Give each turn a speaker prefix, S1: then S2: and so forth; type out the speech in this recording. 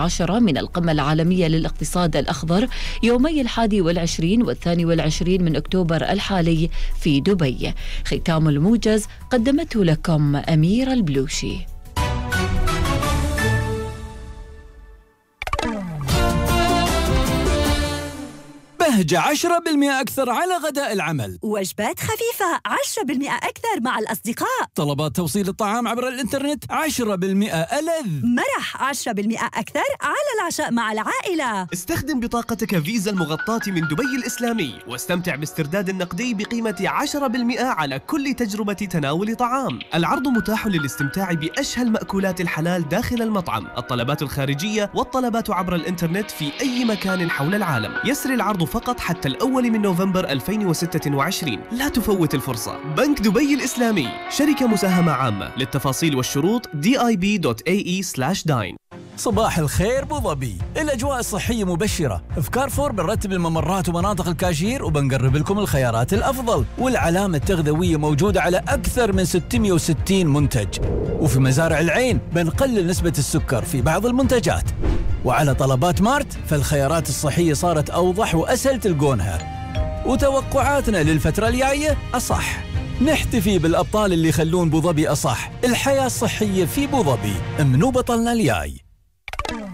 S1: 10 من القمة العالمية للاقتصاد الأخضر يومي 21 و22 من أكتوبر الحالي في دبي. ختام الموجز قدمته لكم أميرة البلوشي.
S2: بهجة 10% أكثر على غداء العمل.
S3: وجبات خفيفة 10% أكثر مع الأصدقاء.
S2: طلبات توصيل الطعام عبر الإنترنت 10% ألذ.
S3: مرح 10% أكثر على العشاء مع العائلة.
S4: استخدم بطاقتك فيزا المغطاة من دبي الإسلامي واستمتع باسترداد النقدي بقيمة 10% على كل تجربة تناول طعام. العرض متاح للاستمتاع بأشهى المأكولات الحلال داخل المطعم، الطلبات الخارجية والطلبات عبر الإنترنت في أي مكان حول العالم. يسري العرض فقط حتى الأول من نوفمبر 2026. لا تفوت الفرصة. بنك دبي الإسلامي، شركة مساهمة عامة. للتفاصيل والشروط dib.ae/dine.
S2: صباح الخير بو ظبي، الأجواء الصحية مبشرة. في كارفور بنرتب الممرات ومناطق الكاشير وبنقرب لكم الخيارات الأفضل، والعلامة التغذوية موجودة على أكثر من 660 منتج. وفي مزارع العين بنقلل نسبة السكر في بعض المنتجات. وعلى طلبات مارت فالخيارات الصحية صارت أوضح وأسهل تلقونها. وتوقعاتنا للفترة الجاية أصح. نحتفي بالأبطال اللي يخلون بو ظبي أصح. الحياة الصحية في بو ظبي. منو بطلنا الجاي؟